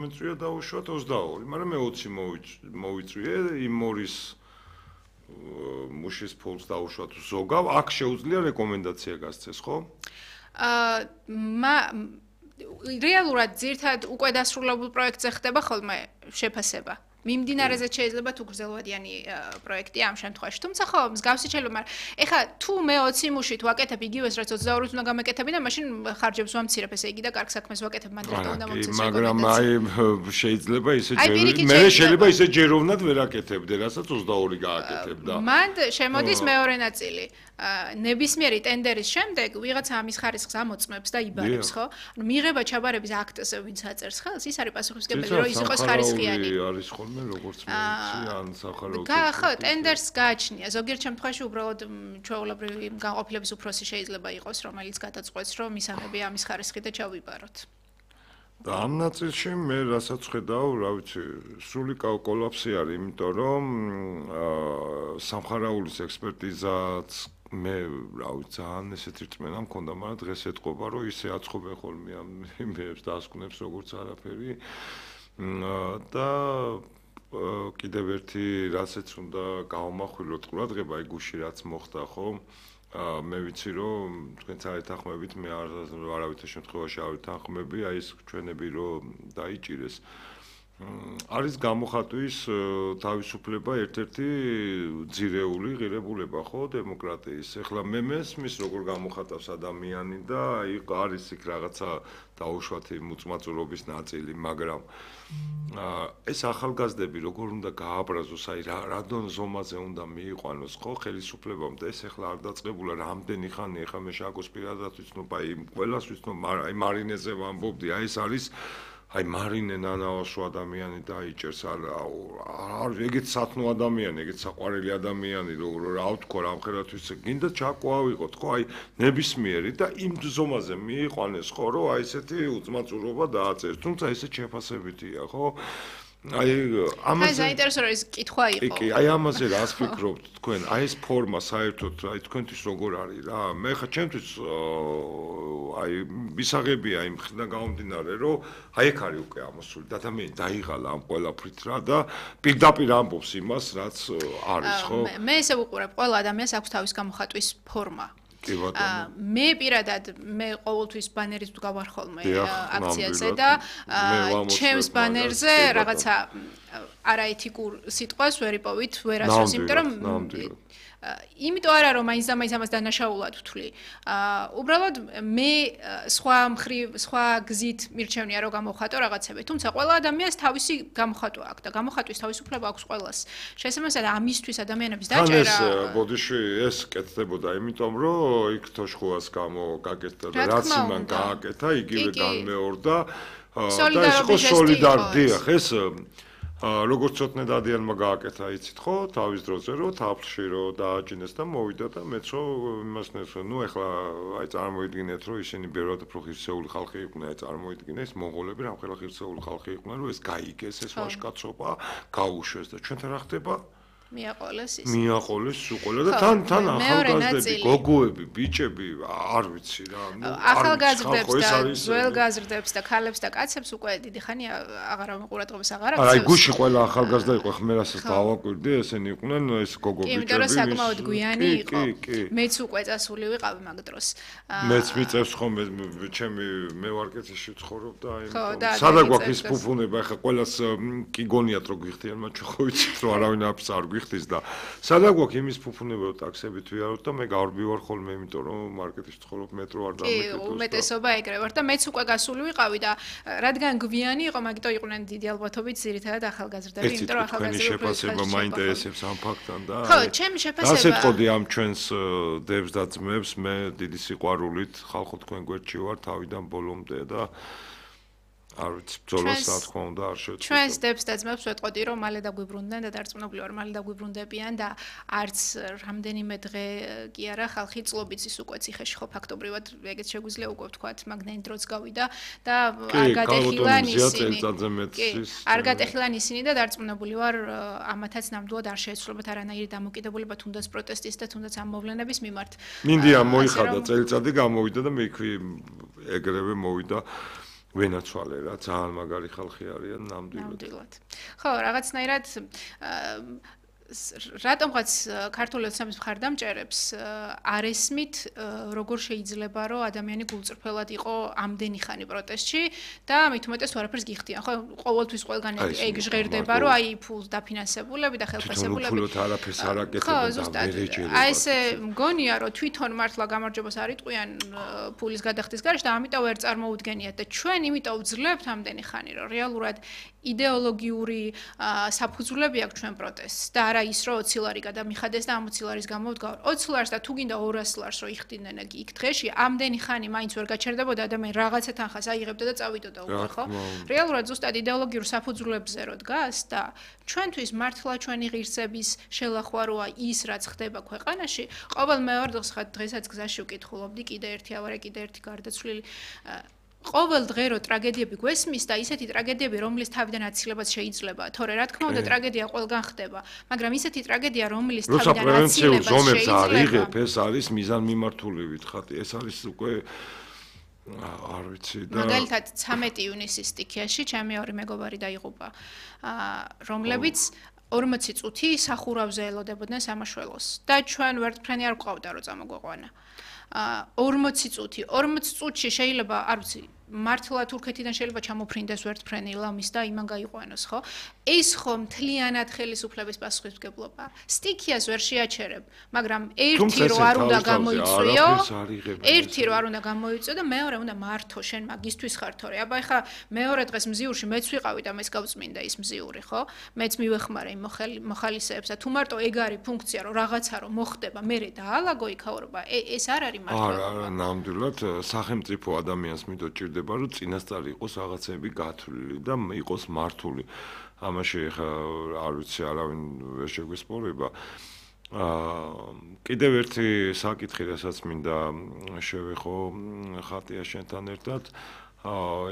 მეწვია დაუშვათ 22, მაგრამ მე 20 მოვიწვიე იმ მორის მუშის ფულს დაუშვათ ზოგავ, აქ შეუძლია რეკომენდაცია გასცეს, ხო? რეალურად ძირთად უკვე დასრულებულ პროექტზე ხდება ხოლმე შეფასება. მიმდინარეზე შეიძლება თუ გრძელვადიანი პროექტი ამ შემთხვევაში. თუმცა ხო, მსგავსი შეიძლება, მაგრამ ეხლა თუ მე 20 მუშით ვაკეთებ იგივეს, რაც 22-ით უნდა გამეკეთები და მაშინ ხარჯებს ვამცირებ, ესე იგი და კარგ საქმეს ვაკეთებ, მანდ რატომ უნდა მომცეს რეკომენდაცია? მაგრამ შეიძლება ისე მე შეიძლება ისე ჯეროვნად ვერ აკეთებდე, რასაც 22 გააკეთებდა. მანდ შემოდის მეორე ნაწილი. ნებისმიერი ტენდერის შემდეგ ვიღაცა ამის ხარისხს ამოწმებს და იბარებს, ხო? ანუ მიღება ჩაბარების აქტზე ვინც აწერს ხელს, ის არის პასუხისმგებელი, რომ ის იყოს ხარისხიანი. არის ხოლმე როგორც მეცი ან სახაროთი. ხო, ტენდერს გააჩნია. ზოგიერთ შემთხვევაში უბრალოდ ჩვეულებრივი განყოფილების უფროსი შეიძლება იყოს, რომელიც გადაწყვეტს, რომ მისაღები ამის ხარისხი და ჩავიბაროთ. და ამ ნაწილში მე რასაც ხედავ, რა ვიცი, სრული კოლაფსი არის, იმიტომ რომ სამხარაულის ექსპერტიზაც მე რა ვიცი, ძალიან ესეთი რწმენა მქონდა, მაგრამ დღეს ეთყობა, რომ ისე აწყობენ ხოლმე ამ იმებს დასკვნებს როგორც არაფერი. და კიდევ ერთი რასაც უნდა გავამახვილოთ ყურადღება, აი გუში რაც მოხდა, ხო? მე ვიცი რომ თქვენც არ ეთანხმებით, მე არავითარ შემთხვევაში არ ეთანხმები, აი ეს ჩვენები რომ დაიჭირეს. არის გამოხატვის თავისუფლება ერთ-ერთი ძირეული ღირებულება, ხო, დემოკრატიის. ეხლა მე მესმის როგორ გამოხატავს ადამიანი და აი არის იქ რაღაცა დაუშვათი მოწმაწურობის ნაწილი, მაგრამ ეს ახალგაზრდები როგორ უნდა გააბრაზოს, აი რა ზომაზე უნდა მიიყვანოს, ხო, ხელისუფლებამ და ეს ეხლა არ დაწყებულა რამდენი ხანი, ეხლა მე შაკოს პირადად ვიცნობ, აი ყველას ვიცნობ, აი მარინეზე ვამბობდი, აი ეს არის აი მარინე ნანავაშო ადამიანი დაიჭერს არ ეგეთ სათნო ადამიანი, ეგეთ საყვარელი ადამიანი, რა ვთქვა, რამხელათვის გინდა ჩაკვავიყოთ, ხო, აი ნებისმიერი და იმ ზომაზე მიიყვანეს, ხო, რომ აი ესეთი უწმაწურობა დააწერს, თუმცა ესეც შეფასებითია, ხო? აი ამაზე საინტერესო ის კითხვა იყო. კი, აი ამაზე რას ფიქრობთ თქვენ? აი ეს ფორმა საერთოდ აი თქვენთვის როგორ არის რა? მე ხა ჩემთვის აი მისაღებია იმ ხიდან გამომდინარე, რომ აი ეგ არის უკვე ამოსული და ადამიანი დაიღალა ამ ყველაფრით რა და პირდაპირ ამბობს იმას, რაც არის, ხო? მე ესე ვუყურებ, ყველა ადამიანს აქვს თავის გამოხატვის ფორმა. კი ბატონო. მე პირადად მე ყოველთვის ბანერით ვდგავარ ხოლმე აქციაზე და ჩემს ბანერზე რაღაცა არაეთიკურ სიტყვას ვერ იპოვით, ვერ ასვას, იმიტომ რომ იმიტომ არა რომ მაინც და მაინც ამას დანაშაულად ვთვლი. უბრალოდ მე სხვა გზით მირჩევნია რომ გამოვხატო რაღაცები, თუმცა ყველა ადამიანს თავისი გამოხატვა აქვს და გამოხატვის თავისუფლება აქვს ყველას. შესაბამისად ამისთვის ადამიანების დაჭერა ეს ბოდიში ეს კეთდებოდა, იმიტომ რომ იქ თოშხუას გაკეთდა და რაც იმან გააკეთა, იგივე განმეორდა და ეს იყო სოლიდარდია, ეს როგორც ცოტნე დადიანმა გააკეთა, იცით ხო, თავის დროზე რომ თაფლში რომ დააჭინეს და მოვიდა და მეცო იმას ნესო, ნუ ეხლა აი წარმოიდგინეთ რომ ისინი ბევრად უფრო ღირსეული ხალხი იყვნენ, აი წარმოიდგინე ეს მონღოლები რამხელა ღირსეული ხალხი იყვნენ, რომ ეს გაიგეს ეს ვაჟკაცობა, გაუშვეს და ჩვენთან რა ხდება? მიაყოლეს ის. მიაყოლეს უყოლა და თან ახალგაზრდები, გოგოები, ბიჭები, არ ვიცი რა, ნუ ახალგაზრდებს და ძველგაზრდებს და ქალებს და კაცებს უკვე დიდი ხანი აღარ ყურადღებას აღარ აქვს. აი გუში ყველა ახალგაზრდა იყო, ხმე რასაც დავაკვირდი, ესენი იყვნენ ეს გოგო ბიჭები. იმიტომ რომ საკმაოდ გვიანი იყო. მეც უკვე წასული ვიყავი მაგ დროს. მეც მიწევს ხოლმე ჩემი მე ვარკეთში ვცხოვრობ და აი სადა გვაქვს ის ფუფუნება, ახლა ყველას კი გონიათ რომ გვიხდიან, მაგრამ ჩვენ ხო ვიცით რომ არავინ არ ხდის და სადა გვაქვს იმის ფუფუნება რომ ტაქსებით ვიაროთ და მე გავარბივარ ხოლმე, იმიტომ რომ მარკეტში ვცხოვრობ, მეტრო არ დამეკეთოს. კი, უმეტესობა ეგრე ვარ და მეც უკვე გასული ვიყავი და რადგან გვიანი იყო, მაგიტომ იყვნენ დიდი ალბათობით ძირითადად ახალგაზრდები, იმიტომ რომ ახალგაზრდები შეფასება მაინტერესებს ამ ფაქტთან და ხო, ჩემი შეფასება რას ეთყოდი ამ ჩვენს დებს და ძმებს, მე დიდი სიყვარულით ხალხო თქვენ გვერდში ვარ თავიდან ბოლომდე და არ ვიცი, ბრძოლას რა თქმა უნდა არ შეეძლო. ჩვენს დებს და ძმებს ვეთყოდი რომ მალე დაგვიბრუნდნენ და დარწმუნებული ვარ, მალე დაგვიბრუნდებიან და არც რამდენიმე დღე კი არა, ხალხი წლობით ის უკვე ციხეში ხო ფაქტობრივად ეგეც შეგვიძლია უკვე ვთქვათ, მაგნაინ დროც გავიდა და არ გატეხილან ისინი. არ გატეხილან ისინი და დარწმუნებული ვარ, ამათაც ნამდვილად არ შეეცვლებათ არანაირი დამოკიდებულება თუნდაც პროტესტის და თუნდაც ამ მოვლენების მიმართ. მინდია მოიხადა წელიწადი გამოვიდა და მე ეგრევე მოვიდა ვენაცვალე რა, ძალიან მაგარი ხალხი არიან ნამდვილად. ხო, რაღაცნაირად რატომღაც ქართული ოცნების მხარდამჭერებს არ ესმით როგორ შეიძლება რომ ადამიანი გულწრფელად იყო ამდენი ხანი პროტესტში და მით უმეტეს არაფერს გიხდიან ხო ყოველთვის ყველგან ეგ ჟღერდება რომ აი ფულს დაფინანსებულები და ხელფასებულები თვითონ არაფერს არ აკეთებენ და ვერ ეჯერებათ აი ესე მგონია რომ თვითონ მართლა გამარჯვებას არ იტყვიან ფულის გადახდის გარეშე და ამიტომ ვერ წარმოუდგენიათ და ჩვენ იმიტომ ვძლებთ ამდენი ხანი რომ რეალურად იდეოლოგიური საფუძვლები აქვს ჩვენ პროტესტს და არა ის რომ 20 ლარი გადამიხადეს და ამ 20 ლარის გამო ვდგავ 20 ლარს და თუ გინდა 200 ლარს რომ იხდიდნენ იქ დღეში ამდენი ხანი მაინც ვერ გაჩერდებოდა ადამიანი რაღაცა თანხას აიღებდა და წავიდოდა უკვე ხო რეალურად ზუსტად იდეოლოგიურ საფუძვლებზე რო დგას და ჩვენთვის მართლა ჩვენი ღირსების შელახვა როა ის რაც ხდება ქვეყანაში ყოველ მეორე დღეს ხა დღესაც გზაში ვკითხულობდი კიდე ერთი ავარე კიდე ერთი გარდაცვლილი ყოველ დღე რო ტრაგედიები გვესმის და ისეთი ტრაგედიები რომლის თავიდან აცილებაც შეიძლება თორე რა თქმა უნდა ტრაგედია ყველგან ხდება მაგრამ ისეთი ტრაგედია რომლის თავიდან აცილებაც შეიძლება ეს არის მიზანმიმართულებით ხათი ეს არის უკვე არ ვიცი და მაგალითად 13 ივნისის სტიქიაში ჩემი ორი მეგობარი დაიღუპა რომლებიც 40 წუთი სახურავზე ელოდებოდნენ სამაშველოს და ჩვენ ვერტფრენი არ გვყავდა რომ წამოგვეყვანა 40 წუთი 40 წუთში შეიძლება არ ვიცი მართლა თურქეთიდან შეიძლება ჩამოფრინდეს ვერტფრენი ლამის და იმან გაიყვანოს ხო ეს ხო მთლიანად ხელისუფლების პასუხისმგებლობა სტიქიას ვერ შეაჩერებ მაგრამ ერთი რო არ უნდა გამოიწვიო ერთი რო არ უნდა გამოიწვიო და მეორე უნდა მართო შენ მაგისთვის ხარ თორე აბა ეხა მეორე დღეს მზიურში მეც ვიყავი და მეც გავწმინდა ის მზიური ხო მეც მივეხმარე იმ მოხალისეებს და თუ მარტო ეგ არის ფუნქცია რომ რაღაცა რომ მოხდება მე დაალაგო იქაურობა ეს არ არის მართლა არა ნამდვილად სახელმწიფო ადამიანს მიდოჭირდება რომ წინასწარ იყოს რაღაცები გათვლილი და იყოს მართული. ამაში ხა არ ვიცი არავინ ვერ შეგვესპორება. კიდევ ერთი საკითხი, რასაც მინდა შევეხო ხატია შენთან ერთად,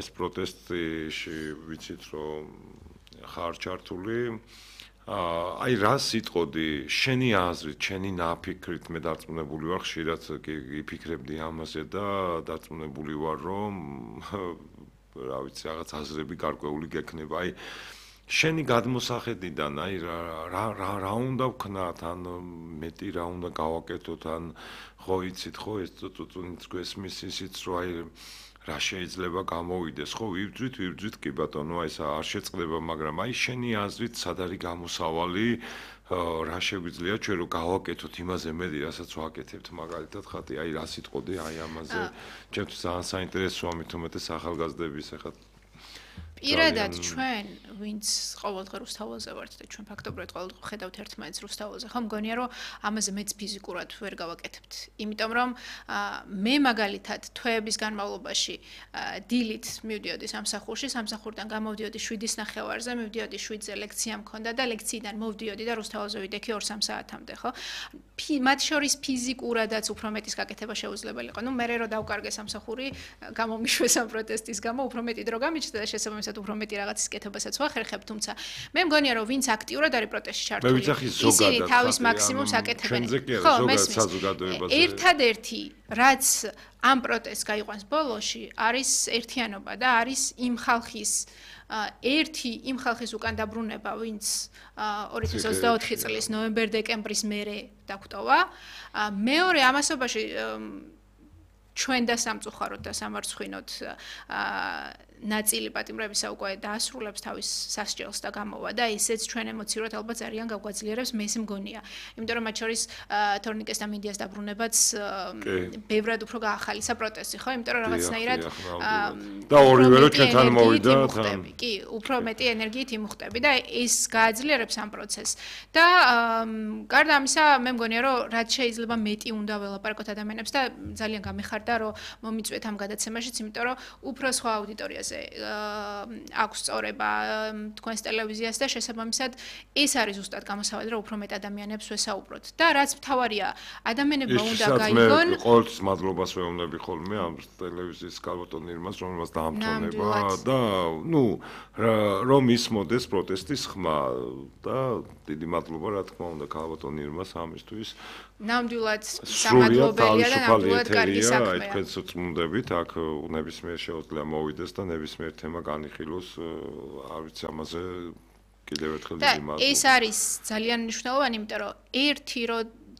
ეს პროტესტში ვიცით რომ ხარ ჩართული აი რას იტყოდი შენი აზრით, შენი ნაფიქრით მე დარწმუნებული ვარ ხშირად იფიქრებდი ამაზე და დარწმუნებული ვარ რომ რა ვიცი რაღაც აზრები გარკვეული გექნება. აი შენი გადმოსახედიდან აი რა უნდა ვქნათ ან მეტი რა უნდა გავაკეთოთ ან ხო იცით ხო ეს წუწუნიც გვესმის ისიც რომ აი რა შეიძლება გამოვიდეს ხო ვიბძვით კი ბატონო აი ეს არ შეწყდება მაგრამ აი შენი აზრით სად არის გამოსავალი რა შეგვიძლია ჩვენ რომ გავაკეთოთ იმაზე მეტი რასაც ვაკეთებთ მაგალითად ხათი აი რა სიტყოდი აი ამაზე ჩემთვის ძალიან საინტერესოა მით უმეტეს ახალგაზრდების ახლა პირადად ჩვენ ვინც ყოველდღე რუსთაველზე ვართ და ჩვენ ფაქტობრივად ყოველდღე ხედავთ ერთმანეთს რუსთაველზე ხო მგონია რომ ამაზე მეც ფიზიკურად ვერ გავაკეთებთ იმიტომ რომ მე მაგალითად თვეების განმავლობაში დილით მივდიოდი სამსახურიდან გამოვდიოდი 7:30-ზე მივდიოდი 7-ზე ლექცია მქონდა და ლექციიდან მოვდიოდი და რუსთაველზე ვიდექი 2-3 საათამდე ხო მათ შორის ფიზიკურადაც უფრო მეტის გაკეთება შეუძლებელი იყო ნუ მე რო დავკარგე სამსახური გამომიშვეს ამ პროტესტის გამო უფრო მეტი დრო გამიჩნდა და შესაბამისად უფრო მეტი რაღაცის კეთებასაც ვახერხებ თუმცა მე მგონია რომ ვინც აქტიურად არის პროტესტში ჩართული ისინი თავის მაქსიმუმს აკეთებენ ხო მესმის ერთადერთი რაც ამ პროტესტს გაიყვანს ბოლოში არის ერთიანობა და არის იმ ხალხის უკან დაბრუნება ვინც 2024 წლის ნოემბერ-დეკემბრის მერე დაგვტოვა მეორე ამასობაში ჩვენ და სამწუხაროდ და სამარცხვინოდ ნაწილი პატიმრებისა უკვე დაასრულებს თავის სასჯელს და გამოვა და ესეც ჩვენ ემოციურად ალბათ ძალიან გავგვაძლიერებს მე ისე მგონია. იმიტომ რომ მათ შორის თორნიკეს და მინდიას დაბრუნებაც ბევრად უფრო გაახალისა პროტესტი, ხო? იმიტომ რომ რაღაცნაირად და ორივე რო ჩვენთან მოვიდა თან. კი, უფრო მეტი ენერგიით იმუხტები და ეს გააძლიერებს ამ პროცესს. და გარდა ამისა, მე მგონია რომ რაც შეიძლება მეტი უნდა ველაპარაკოთ ადამიანებს და ძალიან გამეხარდა რომ მომიწვიეთ ამ გადაცემაშიც, იმიტომ რომ უფრო სხვა აუდიტორიას აქვს სწორება თქვენს ტელევიზიას და შესაბამისად ეს არის ზუსტად გამოსავალი რომ უფრო მეტ ადამიანებს ვესაუბროთ და რაც მთავარია ადამიანებმა უნდა გაიგონ ყოველთვის მადლობას ვეუბნები ხოლმე ამ ტელევიზიის კალბატონირმას რომელსაც დაამტოვნება და ნუ რომ ისმოდეს პროტესტის ხმა და დიდი მადლობა რა თქმა უნდა კალბატონირმას ამისთვის ნამდვილად სამადლობელია და ნამდვილად კარგი საქმეა. აი თქვენს წმუნდებით აქ ნებისმიერ შეუძლია მოვიდეს და ნებისმიერ თემა განიხილოს, არ ვიცი ამაზე კიდევ ერთხელ დიდი მადლობა. ეს არის ძალიან მნიშვნელოვანი, იმიტომ რომ ერთი რო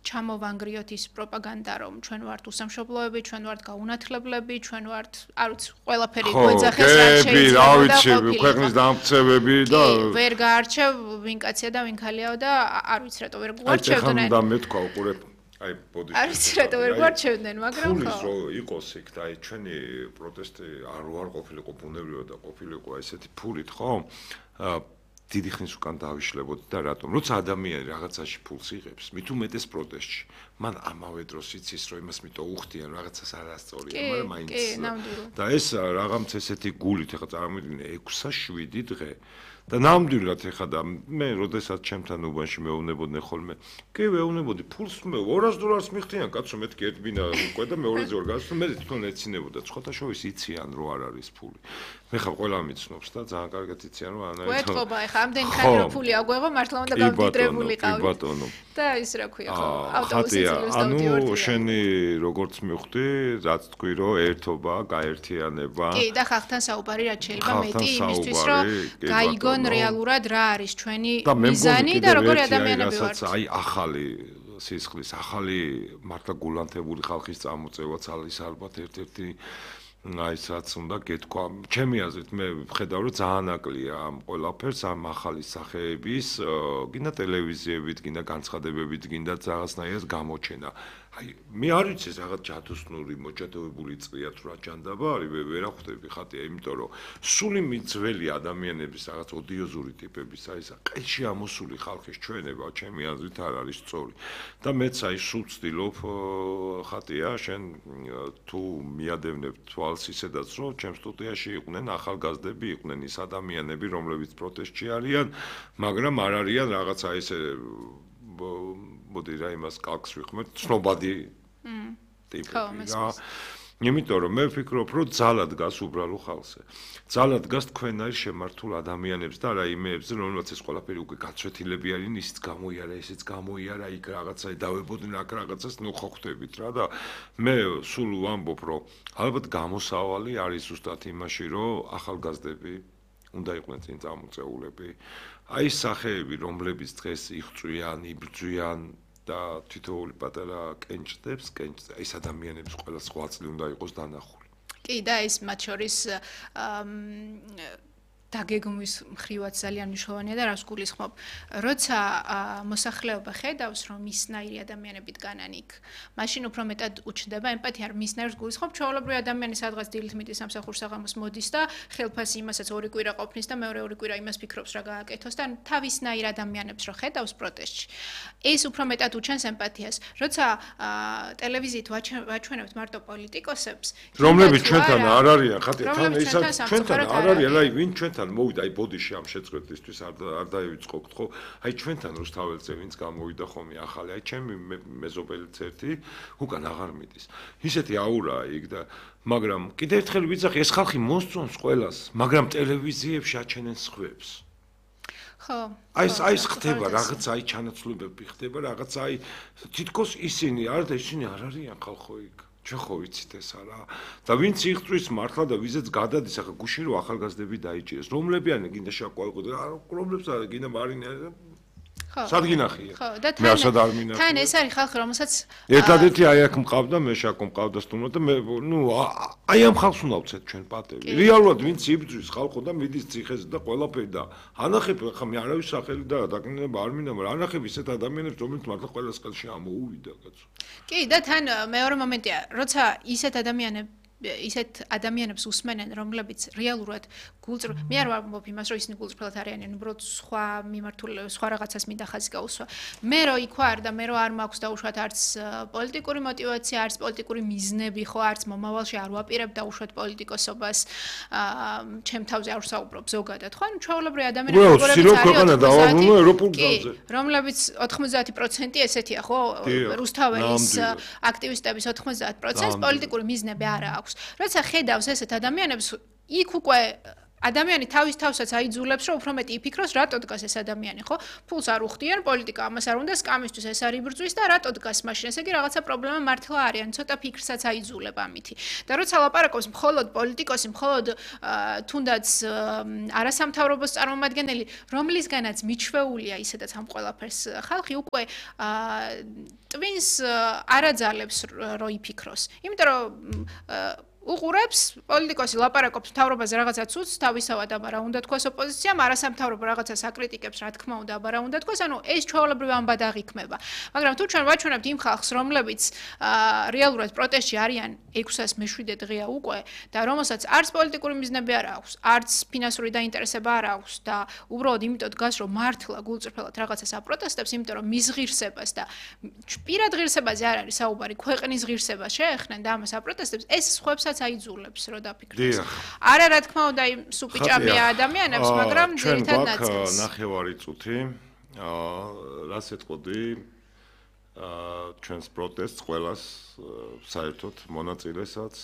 ჩამოვანგრიოთ ის პროპაგანდა, რომ ჩვენ ვართ უსამშობლოები, ჩვენ ვართ გაუნათლებლები, ჩვენ ვართ, არ ვიცი, ყველაფერი გვეძახეს რა შეიძლება და ყოფილი. ქვეყნის დამცევები და ვერ გაარჩევ ვინ კაცია და ვინ ქალიაო და არ ვიცი რატო ვერ გვარჩევდნენ. აი, ხან და მეთქვა უყურებ. აი, ბოდიში. არ ვიცი რატო ვერ გვარჩევდნენ, მაგრამ ხო. ფულის რო იყოს იქ და აი ჩვენი პროტესტი არ ყოფილიყო ბუნებრივად და ყოფილიყო ესეთი ფულით, ხო? დიდი ხნის უკან დავიშლებოდი და რატომ? როცა ადამიანი რაღაცაში ფულს იღებს, მით უმეტეს პროტესტში, მან ამავე დროს იცის, რომ იმას მიტო უხდიან, რაღაცას არასწორია, მაგრამ მაინც და ეს რაღაც ესეთი გულით, ახლა წარმოვიდგინე 6-7 დღე და ნამდვილად ეხა და მე როდესაც ჩემთან უბანში მეუბნებოდნენ ხოლმე კი ვეუბნებოდი ფულს მე $200 მიხდიან კაცო მეთქი ერთ ბინა უკვე და მეორეზე ვერ გასულ მე თვითონ ეცინებოდა ცხოთაშოვის იციან რომ არ არის ფული მე ხა ყველა მიცნობს და ძალიან კარგად იციან რომ ანა გვეთყობა ეხა ამდენ ხანი რომ ფული აგვეღო მართლა უნდა გამდიდრებული ყავით ბატონო და ის რა ქვია ხო ავტობუსის ანუ შენი როგორც მივხვდი რაც თქვი რომ ერთობა გაერთიანება კი და ხალხთან საუბარი რაც შეიძლება მეტი იმისთვის რომ გაიგონ რეალურად რა არის ჩვენი მიზანი და როგორი ადამიანები ვართ. აი ახალი სისხლის, ახალი მართლა გულანთებული ხალხის წამოწევაც არის ალბათ ერთ-ერთი აი რაც უნდა გეთქვა. ჩემი აზრით მე ვხედავ რომ ძალიან აკლია ამ ყველაფერს ამ ახალი სახეების, გინდა ტელევიზიებით, გინდა განცხადებებით, გინდა რაღაცნაირად გამოჩენა. აი მე არ ვიცი რაღაც ჯადოსნური მოჭადოებული წვია თუ რა ჯანდაბა არის ვერ ახვდები ხატია იმიტომ რომ სული მიძველი ადამიანების რაღაც ოდიოზური ტიპების აი ეს ყელში ამოსული ხალხის ჩვენება ჩემი აზრით არ არის სწორი და მეც აი სულ ვცდილობ ხატია შენ თუ მიადევნებ თვალს ისედაც რომ ჩემ სტუდიაში იყვნენ ახალგაზრდები იყვნენ ის ადამიანები რომლებიც პროტესტში არიან მაგრამ არ არიან რაღაცა ესე მოდი რა იმას კალკს ვიხმართ ცნობადი ტიპები რა იმიტომ რომ მე ვფიქრობ რომ ძალად გას უბრალო ხალხზე ძალად გას თქვენაირ შემართულ ადამიანებს და რა იმეებზე რომელსაც ეს ყველაფერი უკვე გაცვეთილები არიან ისიც გამოიარა ესეც გამოიარა იქ რაღაცა დავებოდნენ აქ რაღაცას ნუ ხო ხვდებით რა და მე სულ ვამბობ რომ ალბათ გამოსავალი არის ზუსტად იმაში რომ ახალგაზრდები უნდა იყვნენ წინ წამოწეულები აი სახეები რომლებიც დღეს იღწვიან იბრძვიან და თითოეული პატარა კენჭდებს ეს ადამიანების ყველა სხვა წლი უნდა იყოს დანახული კი და ეს მათ შორის დაგეგმვის მხრივაც ძალიან მნიშვნელოვანია და რას გულისხმობ როცა მოსახლეობა ხედავს რომ მისნაირი ადამიანები დგანან იქ მაშინ უფრო მეტად უჩნდება ემპათია რომ მისნაირს გულისხმობ ჩვეულებრივი ადამიანი სადღაც დილით მიდის სამსახურს საღამოს მოდის და ხელფასი იმასაც ორი კვირა ყოფნის და მეორე ორი კვირა იმას ფიქრობს რა გააკეთოს და თავისნაირ ადამიანებს რო ხედავს პროტესტში ეს უფრო მეტად უჩენს ემპათიას როცა ტელევიზიით ვაჩვენებთ მარტო პოლიტიკოსებს რომლებიც ჩვენთან არ არიან ხათია თან ეს ჩვენთან არ არიან აი ვინ ჩვენ მოვიდა აი ბოდიში ამ შეწყვეტისთვის არ დაივიწყოთ ხო აი ჩვენთან რუსთაველზე ვინც გამოვიდა ხომი ახალი აი ჩემი მეზობელიც ერთი უკან აღარ მიდის ისეთი აურაა იქ და მაგრამ კიდევ ერთხელ ვიძახი ეს ხალხი მოსწონს ყველას მაგრამ ტელევიზიებში აჩენენ სხვებს ხო აი ხდება რაღაც აი ჩანაცვლებები ხდება რაღაც აი თითქოს ისინი არ არიან ხალხო იქ ჩვენ ხო ვიცით ეს არა და ვინც იღწვის მართლა და ვიზეც გადადის ახლა გუშინ რო ახალგაზრდები დაიჭირეს რომლებიანი გინდა შაკვალყო რომლებს გინდა მარინა სადგინახია ხო და თან ეს არის ხალხი რომელსაც ერთადერთი აი აქ მყავდა მე შაკო მყავდა სტუმრო და მე ნუ აი ამ ხალხს უნდა ვცეთ ჩვენ პატევი რეალურად ვინც იბრძვის ხალხო და მიდის ციხეზე და ყველაფერი და ანახებ ხა მე არავის სახელი და დაკნინება არ მინდა მაგრამ ანახებ ისეთ ადამიანებს რომლებიც მართლა ყველას ხელში ამოუვიდა კაცო კი და თან მეორე მომენტია როცა ისეთ ადამიანებს უსმენენ რომლებიც რეალურად გულწრფელად მე არ ვამბობ იმას რომ ისინი გულწრფელად არიან უბრალოდ სხვა მიმართულებით სხვა რაღაცას მინდა ხაზი გაუსვა მე რო იქ ვარ და მე რო არ მაქვს დაუშვათ არც პოლიტიკური мотиваცია არც პოლიტიკური მიზნები ხო არც მომავალში არ ვაპირებ დაუშვათ პოლიტიკოსობას ჩემ თავზე არ ვსაუბრობ ზოგადად ხო ანუ ჩვეულებრივი ადამიანები რომლებიც 90% ესეთია ხო რუსთაველის აქტივისტების 90% პოლიტიკური მიზნები არა აქვს როცა ხედავს ესეთ ადამიანებს იქ უკვე ადამიანი თავისთავსაც აიძულებს, რომ უფრო მეტი იფიქროს, რატო დგას ეს ადამიანი, ხო? ფულს არ უხდიან, პოლიტიკა ამას არ უნდა, სკამისთვის ეს არ იბრძვის და რატო დგას მაშინ? ესე იგი რაღაცა პრობლემა მართლა არის, ან ცოტა ფიქრსაც აიძულება ამითი. და როცა ლაპარაკობს მხოლოდ პოლიტიკოსი, მხოლოდ თუნდაც არასამთავრობოს წარმომადგენელი, რომლისგანაც მიჩვეულია ისედაც ამ ყველაფერს ხალხი უკვე ტვინს არ აძალებს რომ იფიქროს. იმიტომ რომ უყურებს პოლიტიკოსი ლაპარაკობს მთავრობაზე რაღაცა ცუდს თავისავად, აბა რა უნდა თქვას ოპოზიციამ, არასამთავრობო რაღაცა საკრიტიკებს, რა თქმა უნდა, აბა რა უნდა თქვას, ანუ ეს ჩვეულებრივ ამბად აღიქმება. მაგრამ თუ ჩვენ ვაჩვენებთ იმ ხალხს, რომლებიც რეალურად პროტესტში არიან 607 დღეა უკვე და რომელსაც არც პოლიტიკური მიზნები არ აქვს, არც ფინანსური დაინტერესება არ აქვს და უბრალოდ იმიტომ დგას, რომ მართლა გულწრფელად რაღაცას აპროტესტებს, იმიტომ რომ მის ღირსებას და პირად ღირსებაზე არ არის საუბარი, ქვეყნის ღირსებას შეეხნენ და ამას აპროტესტებს, ეს სხვებსაც აიძულებს რომ დაფიქრდეს. არა რა თქმა უნდა იმ სუპიჭამია ადამიანებს, მაგრამ ძირითად ნაწილს. ნახევარი წუთი. რას ეთყოდი? ჩვენს პროტესტს ყველას საერთოდ მონაწილესაც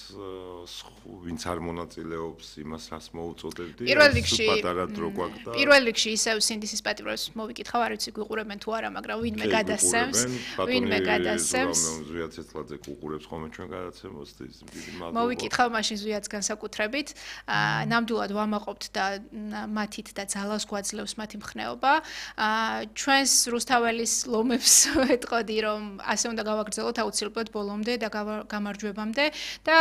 ვინც არ მონაწილეობს იმას რას მოუწოდებდი პატარა დრო გვაქვს და პირველ რიგში ისევ სინდისის პატიმრებს მოვიკითხავ არ ვიცი გვიყურებენ თუ არა მაგრამ ვინმე გადასცემს ზვიად ცეცხლაძე გუყურებს ხოლმე ჩვენ გადაცემოს დიდი მადლობა მოვიკითხავ მაშინ ზვიადს განსაკუთრებით ნამდვილად ვამაყობთ და მათით და ძალას გვაძლევს მათი მხნეობა ჩვენს რუსთაველის ლომებს ეთყოდი რომ ასე უნდა გავაგრძელოთ აუცილებლად ბოლომდე და გამარჯვებამდე და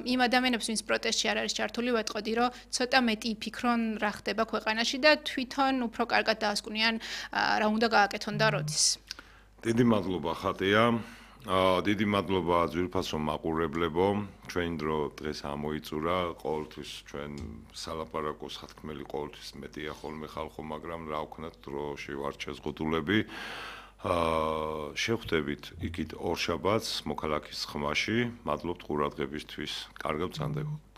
იმ ადამიანებს ვინც პროტესტში არ არის ჩართული ვეტყოდი რომ ცოტა მეტი იფიქრონ რა ხდება ქვეყანაში და თვითონ უფრო კარგად დაასკვნიან რა უნდა გააკეთონ და როდის. დიდი მადლობა ხატია. დიდი მადლობა ძვირფასო მაყურებლებო. ჩვენ დრო დღეს ამოიწურა ყოველთვის ჩვენ სალაპარაკოს ხათქმელი ყოველთვის მეტია ხოლმე ხალხო მაგრამ რა ვქნათ დროში ვარ შეზღუდულები. შევხვდებით იქით ორშაბათს მოქალაქის ხმაში. მადლობთ ყურადღებისთვის. კარგად გრძანდებოდ.